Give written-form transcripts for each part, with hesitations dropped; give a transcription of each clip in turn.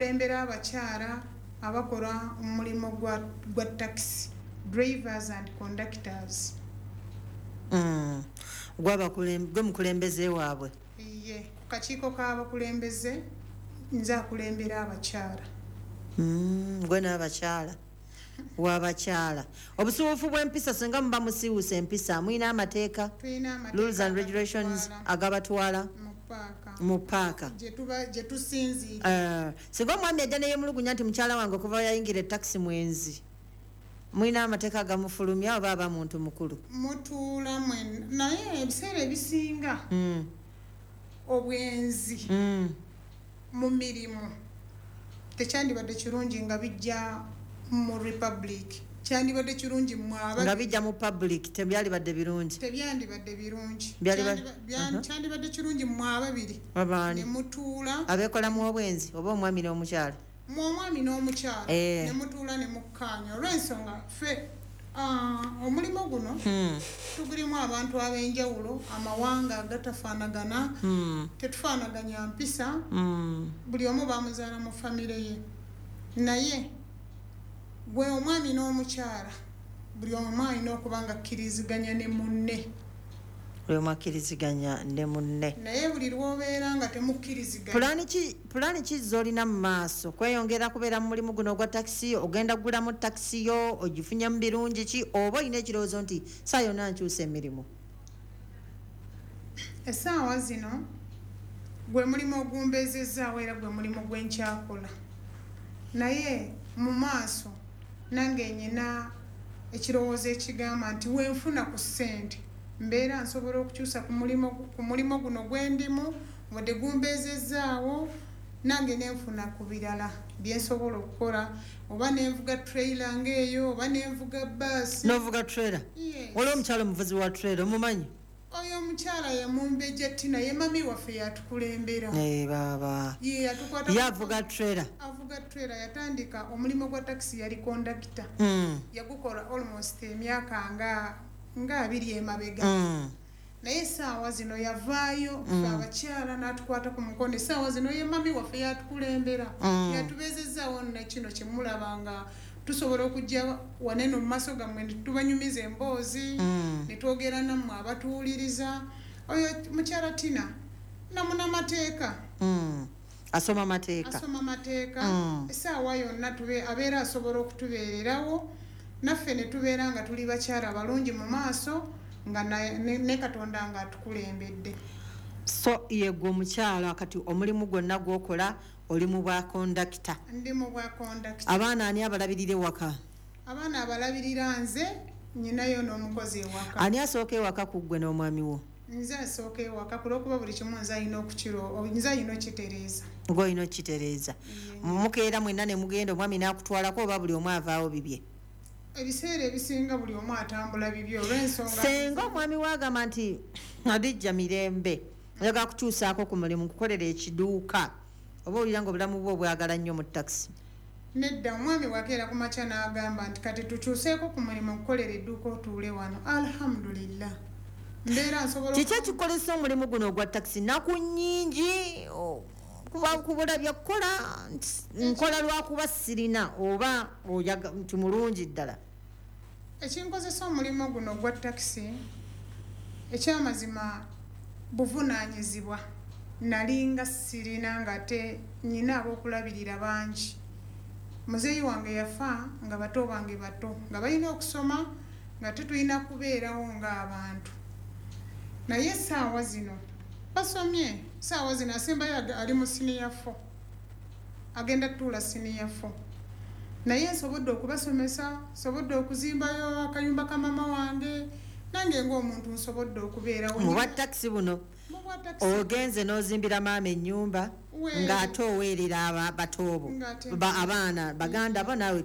Kulembera abakyala abakola omulimu gwa taxi drivers and conductors. Gwe mukulembeze waabwe? Ye, ku kakiiko k'abakulembeze nze akulembera abakyala. Gwe n'abakyala wabakyala. Obusiwuufu bw'empisa, singa muba musiiwuusa empisa, mulina amateeka, Tulina amateeka rules and regulations agabatwala agabatwala mu paaka mu paaka gye tusinziira. Singa omwami ajja neyemulugunya nti mukyala wange okuva yayingira etakisi mwenzi, mulina amateeka agamufulumya oba aba muntu mukulu? Mutuula mwenna, naye ebiseera ebisinga obwenzi mu mirimu tekyandibadde kirungi nga bijja mu public. Kyandibadde kirungi mwaba Nga bijja mu public tebyalibadde birungi? Tebyandibadde birungi. Kyandibadde kirungi mmwe ababiri Abaani? ne mutuula. Abeekolamu obwenzi oba omwami n'omukyala? Mu omwami n'omukyala, ne mutuula ne mukkaanya, olw'ensonga ffe omulimu guno tugulimu abantu ab'enjawulo, amawanga agatafaanagana, tetufaanaganya mpisa. Buli omu bamuzaala mu famire ye, naye gwe omwami n'omukyala buli omu alina okuba nga akkiriziganya ne munne. Buli omu akkiriziganya ne munne. Naye buli lw'obeera nga temukkiriziganya. Pulaani ki z'olina mu maaso? Kweyongera kubeera mu mulimu guno ogwa takisi? Ogenda kugulamu takisi yo? Ogifunye mu birungi ki? Oba olina ekirowoozo nti saa yonna nkyusa emirimu? Essaawa zino gwe mulimu ogumbeezezzaawo era gwe mulimu gwe nkyakola, naye mu maaso nange nyina ekirowoozo ekigamba nti wenfuna ku ssente mbeera nsobola okukyusa ku mulimu guno gwe ndimu, wadde gumbeezezzaawo, nange nenfuna ku birala byensobola okukola, oba nenvuga trailer ngaeyo, oba nenvuga baasi. N'ovuga trailer? Yes. Waliwo omukyala omuvuzi wa trailer, omumanyi? Oyo omukyala ye Mumbejja Tina, ye mami waffe, yatukulembera. Eh, baaba. Ye yatukwata. Ye avuga trailer? Avuga trailer. Yatandika omulimu gwa takisi, yali kondakita. Yagukola almost emyaka nga 20 emabega. Naye essaawa zino yavaayo, ffe abakyala n'atukwata ku mukono. Essaawa zino ye mami waffe, yatukulembera. Yatubeezezaawo nakino kyemulaba nga tusobola okujja wanene mu maaso gammwe ne tubanyumiza emboozi, ne twogera nammwe abatuwuliriza. Oyo mukyala Tina namunamateeka. Asoma mateeka? Asoma mateeka. Essaawa yonna abeera asobola okutubeererawo naffe ne tubeera nga tuli bakyala balungi mu maaso, nga ne Katonda nga atukulembedde. So yegwe omukyala kati omulimu gwonna gwokola oli mu bwa kondakita? Ndi mu bwa kondakita. Abaana ani abalabirira ewaka? Abaana abalabirira nze, nyinayo n'omukozi ewaka. Ani asooka ewaka ku ggwe n'omwami wo? Nze asooka ewaka, kulwokuba buli kimu nze alina okukiro, nze alina okitereeza. Ng'olina okukitereeza. Mukeera mwenna ne mugenda, omwami n'akutwalako, oba buli omu avaawo bibye? Ebiseera ebisinga buli omu atambula bibye, olw'ensonga Senga omwami we agamba nti, "Adijja mirembe, njagala kukyusaako ku mulimu, nkukolera ekiduuka," oba owulira nga obulamu bwe obwagala nnyo mu takisi? Nedda, omwami wakeera ku makya n'agamba nti kati tukyuseeko ku mulimu, nkukolera edduuka otuule wano, alhamdulillah, mbeera nsobola. Kiki ekikolesa omulimu guno ogwa takisi? Naku nnyingi, kuba kubula byakukola nti nkola lwakuba sirina, oba nti mulungi ddala? Ekinkozesa omulimu guno ogwa takisi, ekyamazima, buvunaanyizibwa. Nalinga sirina, ng'ate nyina ab'okulabirira bangi. Muzeeyi wange yafa nga bato bange bato, nga balina okusoma, nga tetulina kubeerawo ng'abantu. Naye essaawa zino basomye. Essaawa zino asembayo ali mu senior four, agenda tutuula senior four. Naye nsobodde okubasomesa, nsobodde okuzimbayo akayumba ka mama wange, nange ng'omuntu nsobodde okubeerawo. Mu bwa takisi buno? Mu bwa takisi. Ogenze n'ozimbira maama ennyumba, ng'ate oweerera batoobo, Ng'ate- abaana baganda bo, naawe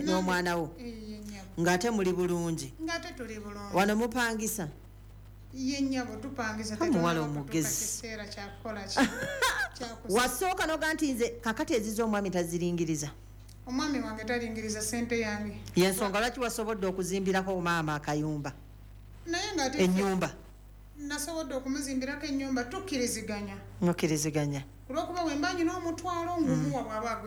n'omwana wo. Ye nnyabo. Ng'ate muli bulungi? Ng'ate tuli bulungi. Wano mupangisa? Ye nnyabo, tupangisa. Omuwala Tetunnaba omugezi. kutuuka kiseera kyakukola ki, kyakusa. Wasooka noga nti nze kakati eziza omwami taziringiriza? Omwami wange talingiriza sente yange. Yensonga lwaki wasobodde okuzimbirako maama akayumba? Naye ng'ate Ennyumba. Nasobodde okumuzimbirako ennyumba, tukkiriziganya. Mukkiriziganya. Olwokuba bwe mba nyina omutwalo, ngumuwa bw'aba.